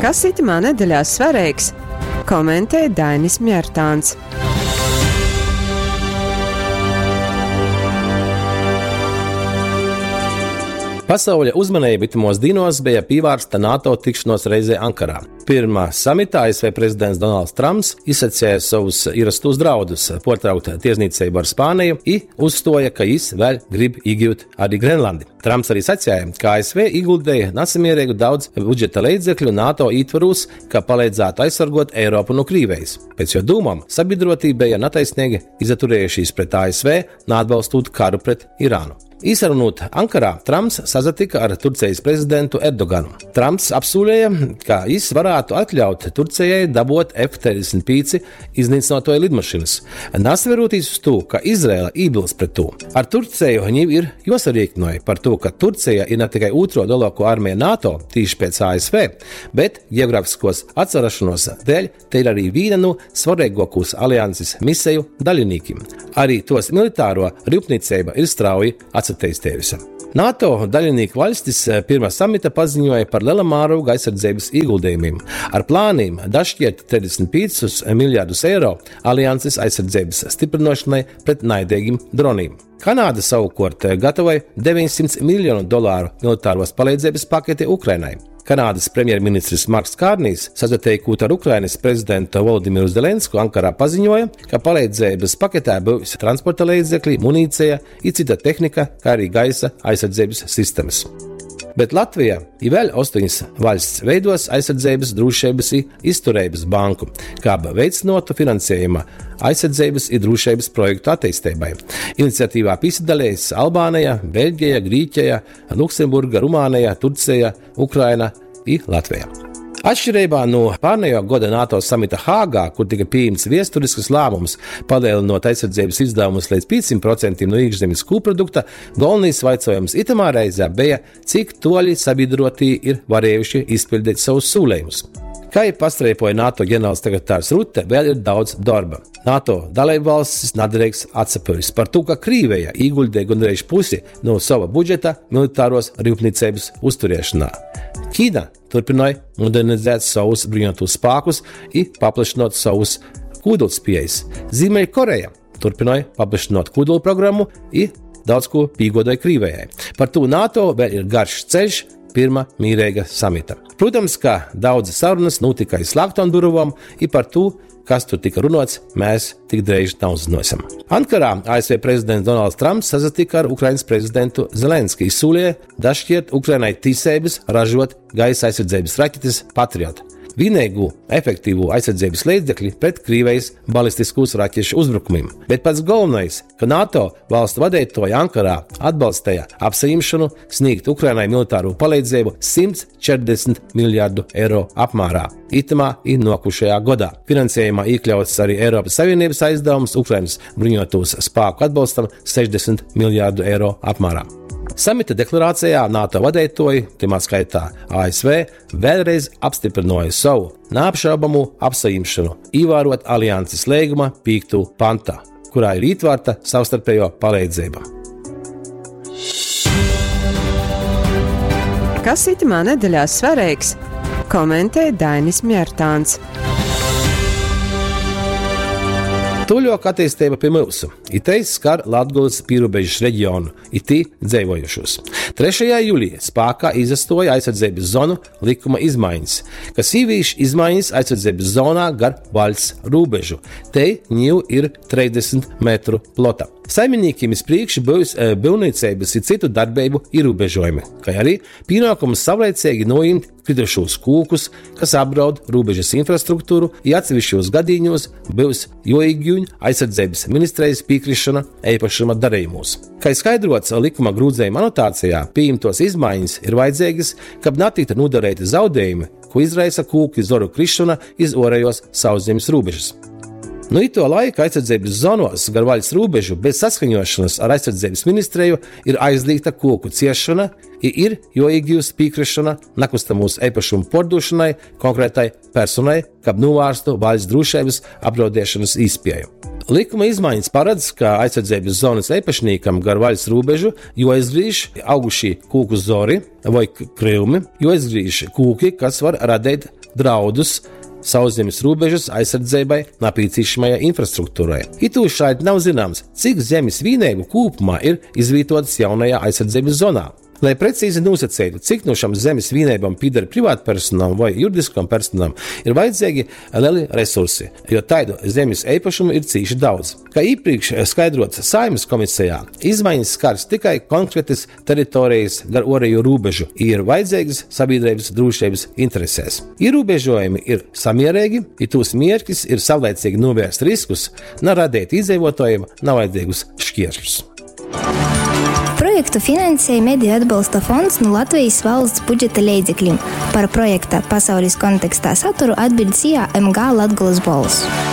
Kas itymā nedeļā svareigs, komentē Dainis Mjartāns. Pasauļa uzmaneiba itymos dīnuos beja pīvārsta NATO tikšonuos reizei Ankarā. Pyrma samita ASV prezidents Donalds Tramps izsaceja sovus īrostūs draudus puortraukt tierznīceibu ar Spāniju i uzstuoja, ka jis vēļ grib īgiut arī Grenlandi. Tramps arī saceja, ka ASV ieguldēja nasamierīgu daudz budžeta leidzekļu NATO ītvarūs, ka paleidzātu aizsargot Eiropu no Krīvejas. Pēc juo dūmom, sabiedrotī beja nataisnīgi izaturējušīs pret ASV, naatbalstūt karu pret Irānu. Īsarunūt Ankarā, Tramps sasatika ar Turcijas prezidentu Erdoganu. Tramps apsūlēja, ka jis varētu atļaut Turcijai dabot F-35 iznīcinotoju lidmašīnas, nasaverūtīs uz tū, ka Izraela iebilst pret tū. Ar Turciju viņiem ir josarīknoja par to, ka Turcija ir ne tikai otro lielāko armiju NATO, tīši pēc ASV, bet geogrāfiskos atsarašanos dēļ te ir arī viena no svarīgākos alianses miseju daļinīkiem. Arī tos militāro rūpniecība ir strauji atsatīstījusi. NATO daļinīku valstis pirmā samita paziņoja par liela mēroga aizsardzības ieguldījumiem ar plāniem dašķirt 35 miljardus eiro alianses aizsardzības stiprināšanai pret naidīgiem droniem. Kanāda savukārt gatavoja 900 miljonu dolāru militāros palīdzības paketi Ukrainai. Kanādas premjerministrs Marks Kārnijs, sasateikot ar Ukrainas prezidentu Volodimiru Zelensku, Ankarā paziņoja, ka palīdzības paketē būs transporta līdzekļi, munīcija i cita tehnika, kā arī gaisa aizsardzības sistēmas. Bet Latvija i vēl 8 vaļsts veidos aizsardzības, drošības i izturības banku, kā veicinotu finansējuma aizsardzības i drošības projektu attīstībai. Iniciatīvā piesadalījās Albānija, Beļģija, Grīķija, Luksemburga, Rumānija, Turcija, Ukraina i Latvija. Atšķirībā no pārnējo gada NATO samita Hāgā, kur tika pieņemts viesturisks lēmums palielinot aizsardzības izdevumus līdz 500% no iekšzemes koprodukta, galvenais vaicojums itamā reizē bija, cik toļi sabiedrotī ir varējuši izpildīt savus solījumus. Kā jau pastreipoja NATO ģenerālsekretārs Rutte, vēl ir daudz darba. NATO dalībvalstis nedrīkst atsapūst par to, ka Krīvija ieguldīja gandrīz pusi no sava budžeta militāros rūpniecības uzturēšanā. Ķīna turpināja modernizēt savus bruņotos spēkus i paplašinot savus kodolspējas. Ziemeļkoreja turpināja paplašinot kodolprogrammu i daudz ko pīgodoja Krīvijai. Par to NATO vēl ir garš ceļš pirma mīrīga samita. Protams, ka daudzas sarunas notika aiz slēgtām durvām, i par to, kas tur tika runāts, mēs tik drīz neuzzināsim. Ankarā ASV prezidents Donalds Trumps sasatika ar Ukrainas prezidentu Zelenski, solīja dašķirt Ukrainai tiesības ražot gaisa aizsardzības raķetes Patriot. Vienīgo efektīvo aizsardzības līdzekli pret Krievijas balistiskos raķešu uzbrukumiem. Bet pats galvenais, ka NATO valstu vadītāji Ankarā atbalstīja apsaimšanu sniegt Ukrainai militāro palīdzību 140 miljardu eiro apmērā itamā i nokušajā gadā. Finansējumā iekļauts arī Eiropas Savienības aizdevums Ukrainas bruņotos spēku atbalstam 60 miljardu eiro apmērā. Samita deklarācijā NATO vadītāji, timā skaitā ASV, vēlreiz apstiprināja savu neapšaubāmu apsaimšanu, ievērot alianses līguma 5. pantā, kurā ir ietverta savstarpējo palīdzība. Kas itamā nedeļā svarīgs? Komentē Dainis Mjartāns. Tuļok attīstība pie mūsu. Itei skar Latgulas pierobežas reģionu, itī dzeivojušos. 3. jūlijā spēkā izastoja aizsardzības zonu likuma izmaiņas, kas īvīš izmaiņas aizsardzības zonā gar vaļsts robežu. Te ņū ir 30 metru plota. Saimniekiem iz priekšu būs būvniecības un citu darbību ierobežojumi, kā arī pienākums savlaicīgi noimt kritušos kūkus, kas apdraud robežas infrastruktūru, ja atsevišķos gadījumos būs joīgjuņ aizsardzības ministrijas piekrišana īpašuma darījumos. Kā skaidrots likuma grūzējuma anotācijā, pieņemtos izmaiņas ir vajadzīgas, kab netiktu nodarīti zaudējumi, ko izraisa kūku zoru krišana iz orējos sauszemes robežas. Nu ituo laika aizsardzeibys zonuos gar vaļsts rūbežu bez saskaņuošonys ar Aizsardzeibys ministreju ir aizlīgta kūku ciersšona i ir juoīgiust pīkrisšona nakustamūs eipašumu puordūšonai konkretai personai, kab nūvārstu vaļsts drūšeibys apdraudiešonys īspieju. Likuma izmaiņas paredz, ka aizsardzeibys zonys eipašnīkam gar vaļsts rūbežu juoizgrīž augušī kūku zori voi kryumi, juoizgrīž kūki, kas var radeit draudus sauszemis rūbežys aizsardzeibai napīcīšamajai infrastruktūrai. Itūšaļt nav zināms, cik zemis vīneibu kūpumā ir izvītuotys jaunajā aizsardzeibys zonā. Lai precīzi nūsaceitu, cik nu šam zemis vīneibom pīder privātpersonām voi juridiskom personām, ir vajadzeigi leli resursi, jo taidu zemis eipašumu ir cīši daudz. Kai īprīkš skaidruots Saeimys komisejā, izmaiņas skars tikai konkretys teritorejis gar uorejū rūbežu i ir vajadzeigys sabīdreibys drūšeibys interesēs. Īrūbežuojumi ir samiereigi i tūs mierkis ir savlaicīgi nūvērst riskus, na radeit īdzeivuotuojim navajadzeigus škieršļus. Projektu finansej Mediju atbalsta fonds nu Latvejis valsts budžeta leidzeklim. Par projekta Pasaulis kontekstā saturu atbiļd SIA MG Latgolys Bolss.